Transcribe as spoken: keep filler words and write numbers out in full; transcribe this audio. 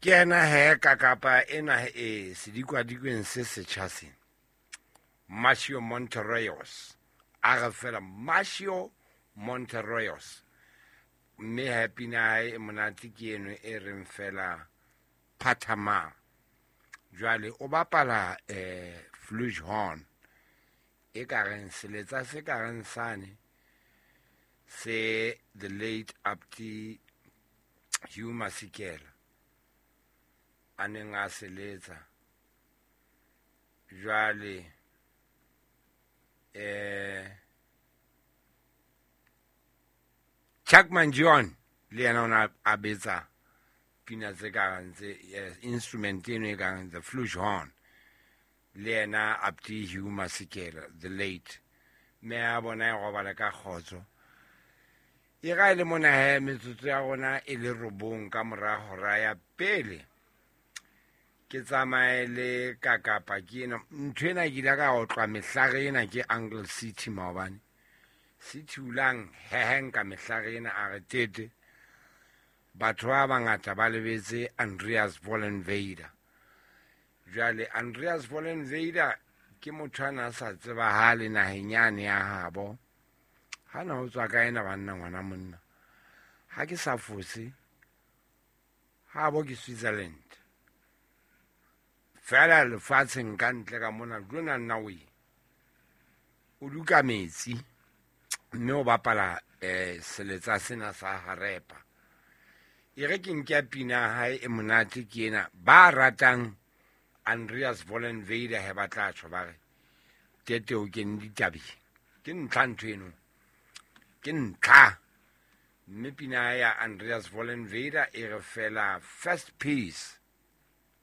Ke yena he kakapa ena e sedikwadikweng se setjha sena. Marcio Monterreyos. A re fela Marcio Monterreyos. Mme he pina hae e monate ke eno e reng fela Phathama. Jwale o bapala eh flugelhorn. E ka reng seletsa se ka reng sane se the late Abdi Hugh Masekela a neng a seletsa. Jwale eh Chuck Mangione le yena o na a betsa pina tse ka reng tse, eh, instrument eno e kang the flugelhorn. Le yena Abdi Hugh Masekela the late, mme a bona e robala ka kgotso. E ra e le mona he metsotso ya rona e le robong ka mora hora ya pele. Ke tsamaye le kakapa ke ena. Ntho ena ke ile ka otlwa mehlare ena ke Uncle City maobane. City ulang heheng ka mehlare ena a re tete. Batho ba bangata ba lebetse Andreas Vollenweider. Jwale Andreas Vollenweider ke motho a na sa tsebahale naheng yane ya habo. Ha na ho tswa ka ena banna ngwana monna. Ha ke sa fose, habo ke Switzerland. Fela lefatsheng ka ntle ka mona, lona nna o e. O duka metsi, mme o bapala, eh, seletsa sena sa harepa. E re ke nke pina hae e monate ke ena. Ba ratang Andreas Vollenweider he ba tla tjho ba re, tete o kene ditabeng. Ke ntlha ntho eno. Ke ntlha. Mme pina ya Andreas Vollenweider e re fela First Piece.